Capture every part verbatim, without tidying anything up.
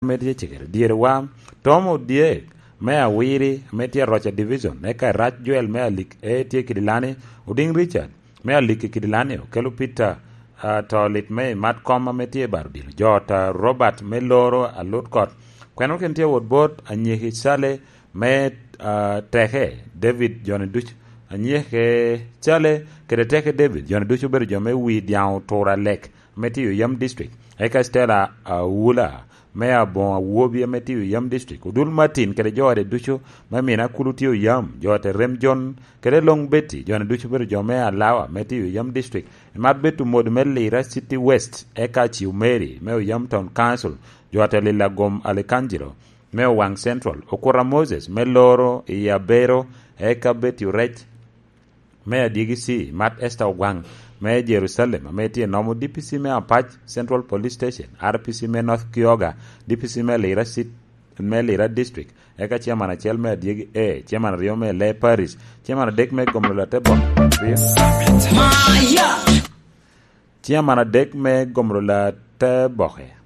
ame tye cegere. Dyere wa, Tom Odyek me Awiri ame tye Roca Division, eka Rac Joel me Alik e tye Kidilani, Oding Richard me Alik i Kidilani, okelo Peter, ah, to lit me mat kom ame tye i Baro Dilo. Jot, ah, Robert me Loro Alut Kot. Kweno ken tye wot bot Anyeki Cale me, ah, Teke David joni ducu. Anyeke Cale kede Teke David joni ducu obedo jo me wi Dyaŋ Otura Lek me tye Oyam District. Eka Stella Awula me Aboŋo Awobi ame tye Oyam District. Odul Martin kede jo ode ducu me Mina Kulu tye Oyam, jo ate Rem Jon kede Long Betty, joni ducu obedo jo me Alawa me tye Oyam District. Imat Betty Omod me Lira City West, eka Ciu Mary me Oyam Town Council, jo ate Lila Gom Alikangelo me Owaŋ Central, Okura Moses me Loro i Abero, eka Betty Orec me Adyegi C, Mat Esther Ogwaŋ me Jerusalem ame tye nomo D P C me Apac Central Police Station, R P C me North Kyoga, D P C me Lira Cit-, me Lira District, eka Chairman acel me Adyegi A, Chairman aryo me Lee Parish, Chairman adek me Gomlo Latebok, Chairman adek me Gomlo Lateboke.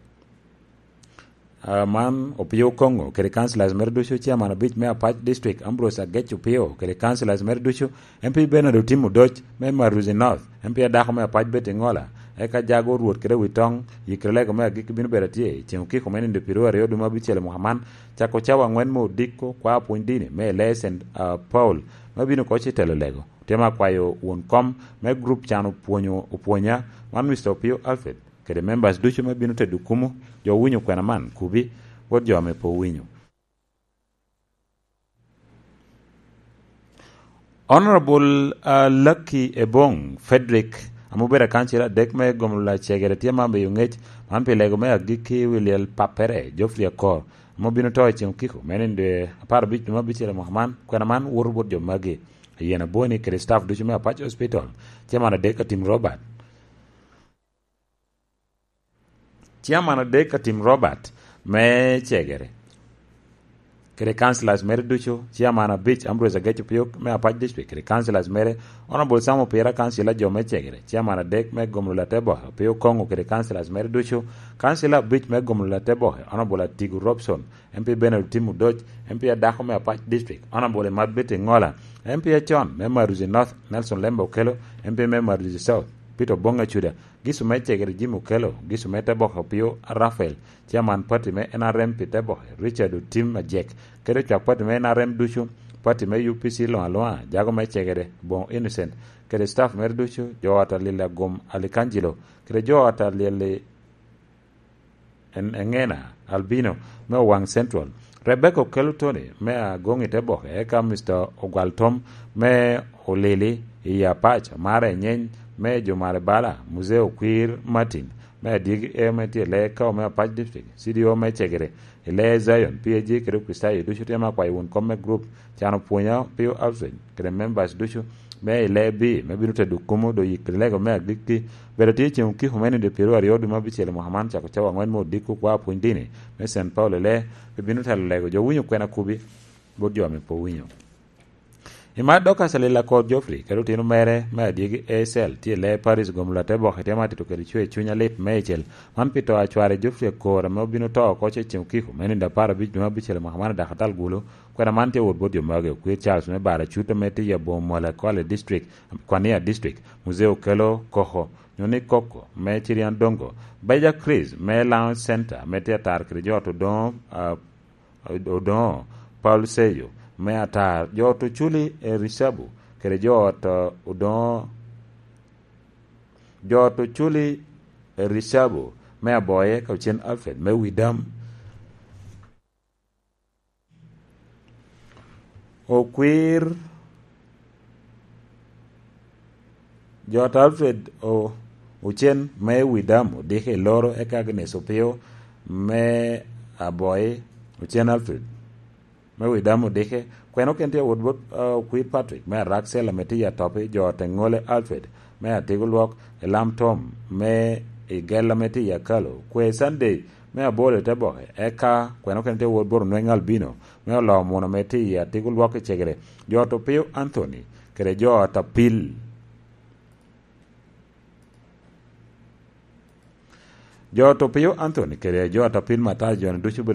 Ah, man Opio Koŋo kede councillors mere ducu, chairman abic me Apac District, Ambrose Agec Opio kede councillors mere ducu, M P Bernard Otim Odoc me Maruzi North, M P adako me Apac Betty Ŋola, eka Jago Rwot kede Witoŋ, Yikralego me agikki bino bedo atye i ceŋ okiko me nindo pyeraryo aryo dwe me abicel i mwaka man, cako cawa aŋwen me odiko kwa pwony dini me Lee Saint, ah, Paul, me bino oko ci telo lego. Tye me akwayo won kom me group can opwonyo, opwonya, man Mister Opio Alfred, kede members ducu me bino tedo kumo, jo owinyo kwena man, kubi, bot jo ame pe owinyo. Honorable, ah, Lucky Ebong Frederick, ame obedo akancil adek me Gomlo Lacegere, tye ma miyo ŋec man pi lego me agikki wi lyel pappere, Geoffrey Akor, ame obino to i ceŋ okiko me nindo apar abic dwe me abicel i mwaka man. Kwena man woto bot jo magi, Ayen Aboni kede staff ducu me Apac Hospital, Chairman adek Atim Robert. Chairman adek Atim Robert me Cegere, kede councillors mere ducu, Chairman abic Ambrose Agec Opio me Apac District, kede councillors mere, Honorable Sam Opira, councillor jo me Cegere, Chairman adek me Gomlo Lateboke, Opio Koŋo kede councillors mere ducu, councillor abic me Gomlo Lateboke, Honorable Atigo Robson, M P Bernard Otim Odoc, M P adako me Apac District, Honorable Imat Betty Ŋola, M P acon me Maruzi North, Nelson Lembe Okello, M P me Maruzi South, Peter Obong Acuda, Gisu me Cegere Jim Okello, Gisu me Teboke Opio Raphael, Chairman Party me N R M pi Teboke, Richard Otim Ajek, kede ocwak Party me N R M ducu, Party me U P C luŋ aluŋa, Jago me Cegere, Boŋo Innocent, kede staff mere ducu, jo ot a Lila Gum Alikangelo, kede jo ot a Lyel-, En-, Engena Albino me Owaŋ Central, Rebecca Okello Tony me Agoŋ i Teboke, eka Mister Ogwal Tom me Olili i Apac, Mara Enyeny me Jumare Bala, Muzee Okwir Martin me Adyegi A me tye i Lee Kawo me Apac District, C D O me Cegere i Lee Zion, P A G kede Okricitayo ducu tye me akwayo wun kom me group can opwonya Pio Alfred kede members ducu me i Lee B me bino tedo kumo do yik lego me agikki. Bedo tye ceŋ okiko me nindo pyeraryo dwe me abicel i mwaka man, cako cawa aŋwen me odiko kwa pwony dini me Saint Paul i Lee, pe bino telo lego jo winyo kwena kubi bot jo ame pe owinyo. I mar dok Acelila Kor Geoffrey kede otino mere me adyegi Acel tye i Lee Paris Gomlo Ateboke, tye ma tito kede cwer cuny alit meicel. Man pi to a cware Geoffrey Akor ame obino to oko ce ceŋ okiko me nindo apar abic dwe me abicel i mwaka man i Dakatal Gulu. Kwena man tye wot bot jo magi: Okwir Charles me Bara Cut ame tye i Aboŋo Mwala Kwale District, Kwania District, Muzee Okello Koko, nyo ni Koko me Cirian Dongo, Beja Chris me Lounge Center ame tye atar kede jo ot Odoŋo, ah, Odoŋo Paul Seyo me atar, jo ot Oculi Ericabu kede jo ot, ah, Odoŋo, jo ot Oculi Ericabu me Aboye, ka Ocen Alfred me Widam. Okwir, jo ot Alfred O-, Ocen me Widam odiko i Loro, eka Agnes Opio me Aboyi, Ocen Alfred me Widam odike. Kweno ken tye awot bot, ah, Okwir Patrick me Araksel ame tye i Atopi, jo ot Eŋole Alfred me Atiko Lwok, Elam Tom me Igel ame tye i Akalo, Kwe Sunday me Abolo i Teboke, eka kweno ken tye awot bot Onweŋ Albino me Oloo Muno ame tye i Atiko Lwok i Cegere, jo ot Opio Anthony kede jo ot Apil. Jo Topio Anthony kede jo a Topil Mathayo, jo-ni ducu